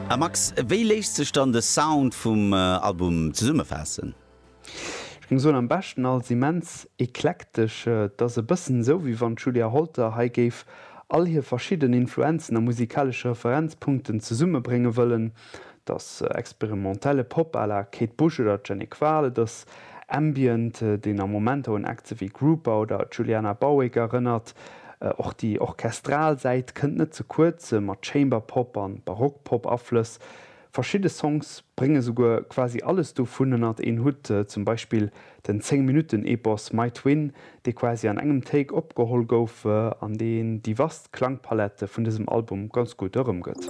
A Max, wéi léisst sech dann de Sound vum Album zesummefaassen? Ech géing soen, am beschten als immens eklektesch. Et ass e bëssen esou, wéi wann d'Julia Holter hei géif all hir verschidden Influenzen a musikalesche Referenzpunkten zesummebrénge wëllen. Et ass experimentelle Pop à la Kate Bush oder Jenny Hval, et ass Ambient, deen a Momenter un Acts ewéi Grouper oder Juliana Barwick erënnert. Och déi orchestral Säit kënnt net ze kuerz, mat Chamber-Pop an Barock-Pop-Aflëss. Verschidde Songs brénge souguer quasi alles dovun ënnert een Hutt, zum Beispill den 10 Minutten Epos My Twin, dee quasi an engem Take opgeholl gouf an deen déi vast Klangpalette vun dësem Album ganz gutt erëmgëtt.